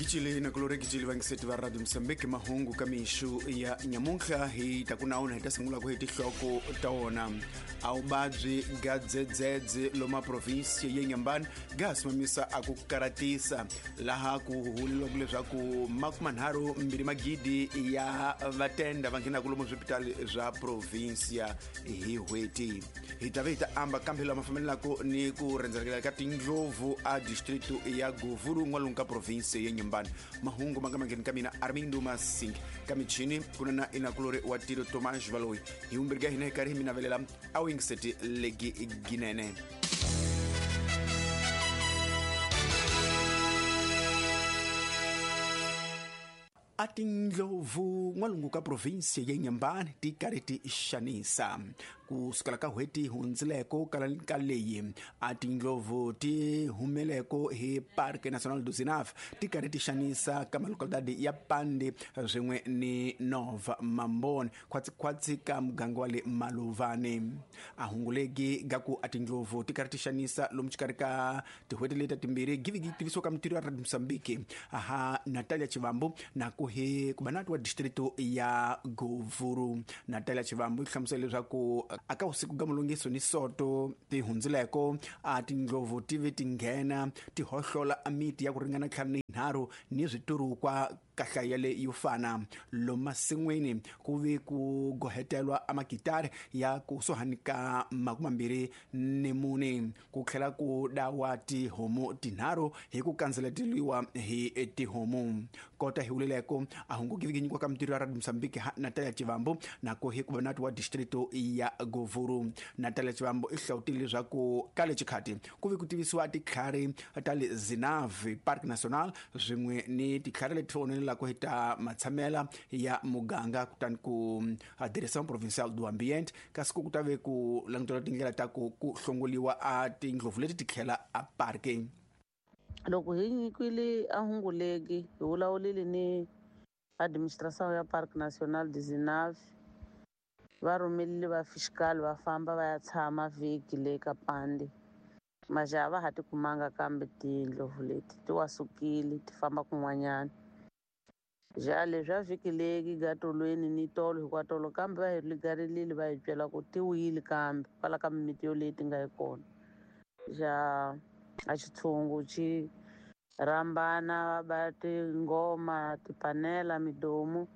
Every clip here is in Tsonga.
Gicile na kulore gicile vangiseti va Radio Mozambique mahungu ka mixu ya nyamuntlha hi ta ku na hi ta sungula ku hi tinhloko ta wona. A vuvabyi ga dzedzedze loma province ya Inhambane ga simamisa a ku karatisa laha ku huweleliwaka leswaku 32 magidi ya vatenda va nghenaka lomu swipitali swa provinsia hi n'hweti. Hi ta ve hi ta amba kambe lama fambelaka ni ku rhendzelekela ka tindlovu a distrito ya Govuru n'walungu ka province ya Inhambane. Mahungu ma nga mangheni ka mina Armindo Masing ka michini ku na na inakulori wa tiro Tomas Valoyi. Hi vumbirhi ka hina hi karhi hi mi navelela a wingiseti legi ginene. A tindlovu n'walungu ka provinsi ya Inhambane ti karhi ti xanisa ku sukela ka n'hweti hundzileko ka leyi a tindlovu ti humeleko hi Parque Nacional do Zinave ti karhi ti xanisa ka malocalidade ya Pande swin'we ni Nova Mambone khwatsikhwatsi ka muganga wa le Maluvani. A hunguleki ga ku a tindlovu ti karhi ti xanisa lomu xikarhi ka tin'hweti leti timbirhi givigi tivisiwa ka mintirho ya Radio Mozambique aha Natalia Chivambu na ku hi kubanati wa distrito ya Govuru. Natalia Chivambu yi hlamusela leswaku aka vusiku ga mulungiso ni soto ti hundzileko a tindlovu ti ve ti nghena ti hohlola a miti ya ku ringana 53 ni switurukwa ka hlaya leyi yo fana. Lomu masin'wini ku ve ku gohetelwa a magitari ya kusuhani ka 24 ku tlhela ku dawa tihomu 3 hi ku kandzeleteliwa hi tihomu. Kota hi wulileko a hungu givigi nyikiwa ka mintirho ya Radio Mozambique ha Natalia Chivambu na ku hi kubanati wa distrito ya Govuru. Natalia Chivambu i hlawutile leswaku ka le xikhati ku ve ku tivisiwa titlhari ta le Zinave Park National swin'we ni titlhari leti onelelaka hi ta matshamela ya muganga kutani ku Direção Provincial do Ambiente kasi ku ta ve ku langutela tindlela ta ku ku hlongoliwa a tindlovu leti ti tlhela a parke. Loko hi nyikwile a hunguleki hi vulavulile ni administration ya Parc National de Zinave va rhumelile va fiscal va famba va ya tshama vhiki le ka Pande. Majaha va ha ti kumanga kambe tindlovu leti ti wasukile ti famba kun'wanyana. Ja leswi a vhiki leki gatolweni ni tolo hikwatolo kambe va hi ligarilile va hi byela ku ti wile kambe kwala ka mimiti yoleyi ti nga yi kona. Ja a xitshungu xi rhambana va tingoma tipanela midomu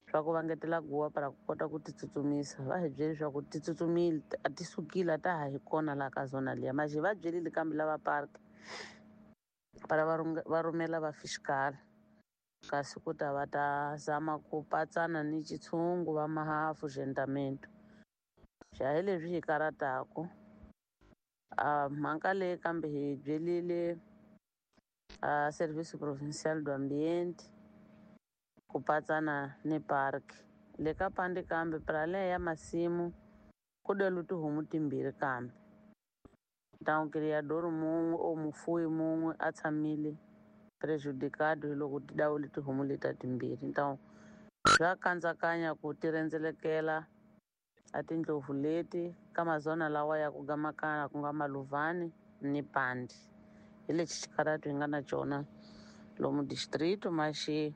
swa ku vangetela guwa para ku kota ku ti tsutsumisa. Va hi byele leswaku ti tsutsumile a ti sukile a ta ha hi kona laha ka zona liya. Maje va byelile kambe lava park para va rhumela va fiscal kasi ku ta va ta zama ku patsana ni xitshungu va mahafu gentamento. Xa hi leswi hi karataku a mhaka leyi kambe hi byelile a Serviço Provincial do Ambiente ku patsana ni park. Le ka Pande kambe prale ya masimu ku delu tihomu timbirhi kambe. Ntangu criador mun'we o mufuwi mun'we a tshamile prejudicado hi loko ti dawule tihomu leta timbirhi. Ntangu swa kandzakanya ku ti rhendzelekela a tindlovu leti ka mazona lawa ya ku gamakana ku nga Maluvani ni Pande. Hi lexi xikarhatu hi nga na xona lomu distrito maxi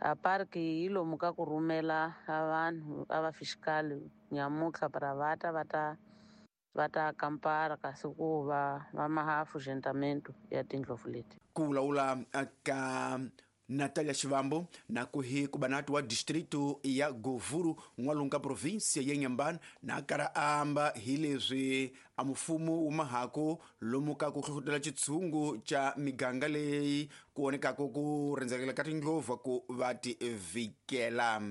a park yi lomu ka ku rhumela a vanhu a va fiscal nyamutlha para va ta va ta kampara kasi ku va va mahafu gentamento ya tindlovu leti. Ku vulavula ka Natalia Chivambu na ku hi kubanati wa distrito ya Govuru n'walungu ka province ya Inhambane na kara amba hi leswi a mfumo wu mahaku lomu ka ku hlohlotela xitshungu xa miganga leyi ku vonekaka ku rhendzelekela ka tindlovu ku va ti vhikela.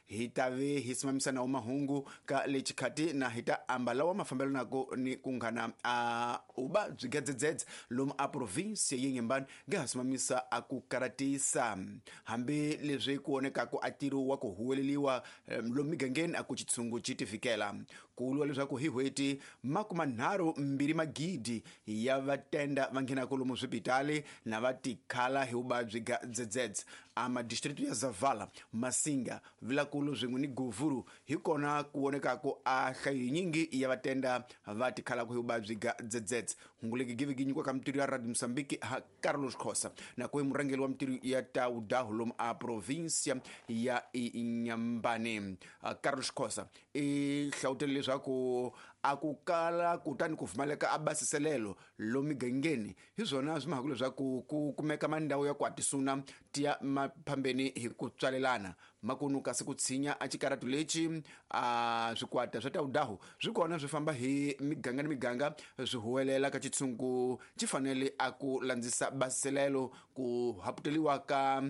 Hi ta ve hi simamisa nawu mahungu ka le xikhati na hi ta amba lawa mafambelanaka ni ku nghana a uba byi gedzedzedze lomu a province ya Inhambane nga ha simamisa a ku karatisa. Hambi leswi ku vonekaka a ntirho wa ku huweleliwa lomu migangeni a ku xitshungu xi ti fikela. Ku vuriwa leswaku hi n'hweti 32 magidi ya vatenda va nghenaka lomu swipitali na va tikhala hi vuvabyi ga dzedzedze a madistrito ya Zavala, Masinga, Vilankulu Vilankulu swin'we ni Govuru hi kona ku vonekaka a hlayo yinyingi ya vatenda va tikhalaka hi vuvabyi ga dzedzedze. Hungu legi give gi nyikiwa ka mitirho ya Radio Mozambique ha Carlos Khosa na ku murhangeri wa mitirho ya Taudahu lomu a provinsia ya Inhambane. Carlos Khosa i hlawutele leswaku a ku kala kutani ku pfumaleka a basiselelo lomu migangeni hi swona swi mahaka leswaku ku kumeka mandhawu ya ku hatisuna tiya maphambeni hi ku tswalelana makunu kasi ku tshinya a xikaratu lexi a swikwata swa Taudahu swi kona swi famba hi miganga ni miganga swi huwelela ka xitshungu xi fanele a ku landzisa basiselelo ku haputeliwa ka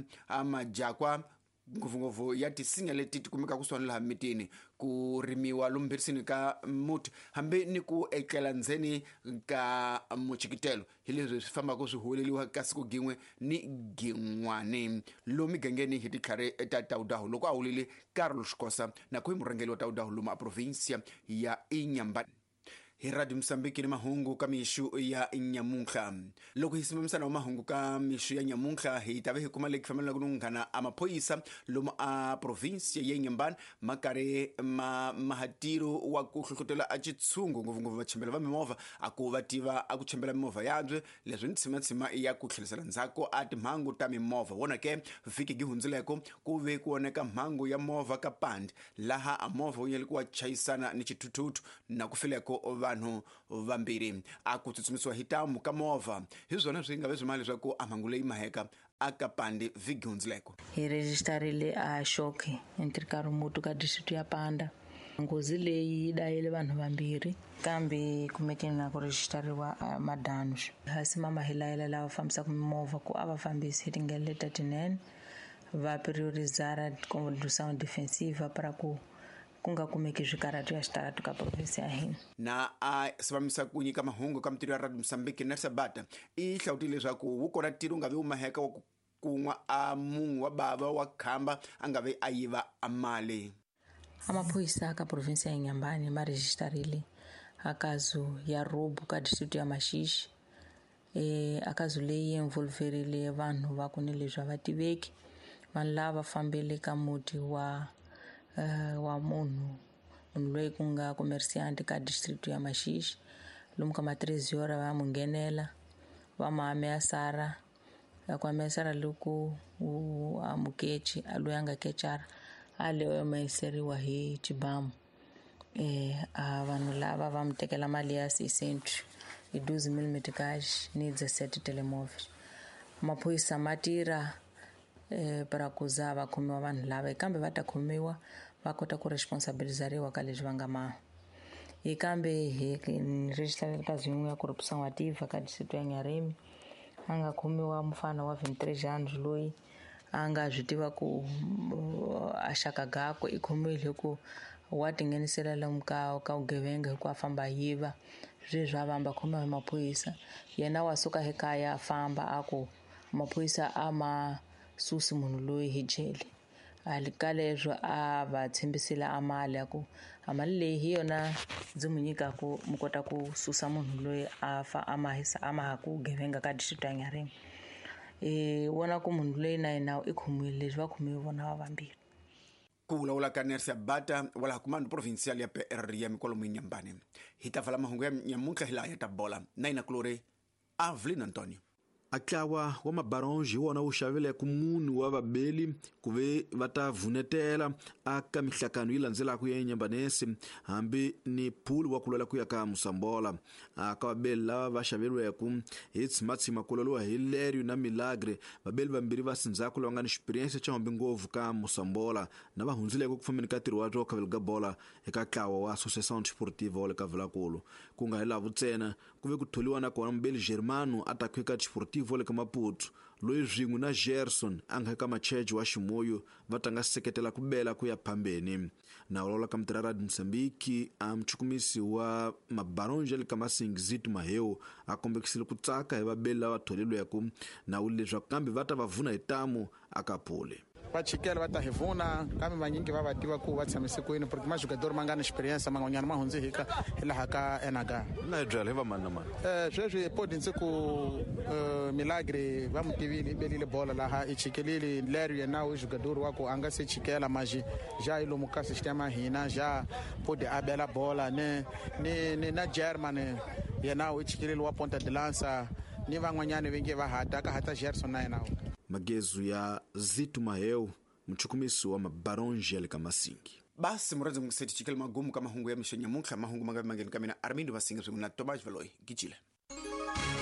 majakwa ngopfungopfu ya tisinya leti ti kumekaka kusuhani laha mitini ku rimiwa lomu ka muti hambi ni ku etlela ndzeni ka muchikitelo hi leswi swi fambaka swi huweleliwa ka siku gin'we ni gin'wani lomu migangeni hi titlhari ta Taudahu. Loko a wulile Carlos Khosa na ku hi murhangeri wa Taudahu lomu a provinsia ya Inhambane. Hi Radio Mozambique ni mahungu ka mixu ya nyamuntlha. Loko hi simamisana wa mahungu ka mixu ya nyamuntlha hi ta ve hi kuma leki fambelaka ni nghana a maphorisa lomu a provinsia ya Inhambane ma karhi ma mahatiro wa ku hlohlotela a xitshungu ngopfungopfu vachembela va mimovha a ku va tiva a ku chembela mimovha yabye leswi ni tshimatshima ya ku tlherisela ndzhaku a timhangu ta mimovha. Wona ke vhiki gi hundzileko ku ve ku voneka mhangu ya movha ka Pandi laha a movha wu nyele ku wa chayisana ni xithuthuthu na ku fileko vanhu vambirhi a ku tsutsumisiwa hi tamu ka movha. Hi swona swi nga ve swi mali leswaku a mhangu leyi maheka a ka Pandi vhiki hundzileko. Hi rejistarile a shock entre Karumutu ka district ya Panda. Nghozi leyi yi dayile vanhu vambirhi kambe kumeke na ku rejistariwa madanos. Hasi mama hi layela lava fambisaka mimovha ku a va fambisi hi tindlela leti tinene va priorizara condução defensiva para ku ku nga kumeki swikaratu ya xitaratu ka provinsi ya hina. Na a sivamisa ku nyika mahungu ka mitirho ya Radio Mozambique na Sabata i hlawutile leswaku wu kona ntirho nga vi wu maheka wa ku kun'wa a munhu wa bava wa khamba a nga vi a yiva a mali. Amaphorisa ka provinsi ya Inhambane ma rejistarile a kazu ya robo ka district ya Maxixe. A kazu leyi involverile vanhu va ku ni leswi a va tiveki. Vanhu lava fambele ka muti wa munhu loyi ku nga commerciant ka district ya Maxixe. Lomu ka ma 3 hora va mu nghenela va ma ameasara ku ameasara loko a mukechi a loyi a nga kechara a leyo mayiseriwa hi xibamu. A vanhu lava va mu tekela mali ya 600 hi 12 mm cash ni 17 telemóveis. Maphorisa ma tirha para ku za va khomiwa vanhu lava kambe va ta khomiwa va kota ku responsabilizariwa ka leswi va nga ma. Hi kambe hi register ka zin'we ya corruption wa tiva ka district ya Nyarimi a nga khomiwa mufana wa 23 anos loyi a nga swi tiva ku a xaka gakwe i khomiwile hi ku wa tinghenisela lomu ka vugevenga hi ku a famba yiva sweswi a vamba khomiwa hi maphorisa. Yena wa suka ekaya a famba a ku maphorisa a ma susi munhu loyi hi jele. A ka leswo a va tshembisile a mali ya ku a mali leyi hi yona ndzi mu nyikaku mu kota ku susa munhu loyi a fa a mahisa a maha ku gevenga ka district ya Nyarimi. Vona ku munhu loyi na yena i khomiwile leswi va khomiwe vona va vambirhi. Ku vulavula ka Nersia Bata wa laha Comando Provincial ya PR ya Mikwalomu Inhambane. Hi ta vala mahungu ya nyamuntlha hi laha ya ta bola na yina kulori Avlin Antonio. A ntlawa wa mabaronge hi wona wu xavileke munhu wa vabeli ku ve va ta vunetela aka mihlakano yi landzelaka ya Inhambanese hambi ni pool wa ku lwela ku ya ka Mosambola. Aka vabeli lava va xaveriweke hi tshimatshima ku lweliwa hi Lerio na Milagre, vabeli vambirhi va sindzhaku lava nga ni experience xa hombi ngopfu ka Mosambola na va hundzileke ku fambeni ka ntirho wa swo khavela ka bola eka ntlawa wa Associação Desportiva wa le ka Vilankulu. Ku nga hi lava ntsena ku ve ku tholiwa na kona mubeli Germano a ta eka Desportivo le ka Maputo loyi swin'we na Gerson a nga eka Machejo wa Ximoyo va ta nga seketela ku bela ku ya phambeni. Na vulavula ka mitirha Radio Mozambique a muchukumisi wa mabaronge le ka Masingizito Maheu a kombekisile ku tsaka hi vabeli lava tholeriweke na wu leswaku kambe va ta va vuna hi tamu aka pole. Va chikela va ta hi vuna, kambe vanyingi va va tiva ku va tshamise kwini, porque majugador ma nga ni experience man'wanyana ma hundze hi ka hi laha ka enaga. Na hi byela hi va mani na mani? Sweswi podi ndzi ku Milagre va mu tivile, i belile bola laha i chikelile leri yena u jugador wa ku a nga se chikela maji ja i lomu ka sistema hina ja podi a bela bola ni na German yena u chikelile wa Ponta de Lança ni van'wanyani va nge va hata ka hata Gerson na yena. Magezu ya Zitu Maheu, mchukumisi wa mabaronji ya le ka Masingi. Basi muradzi mungiseti chikele magumu ka mahungu ya mixo nyamuntlha, mahungu ma nga mangeni ka mina Armindo Masingi swin'we na Tomas Valoyi Gijile.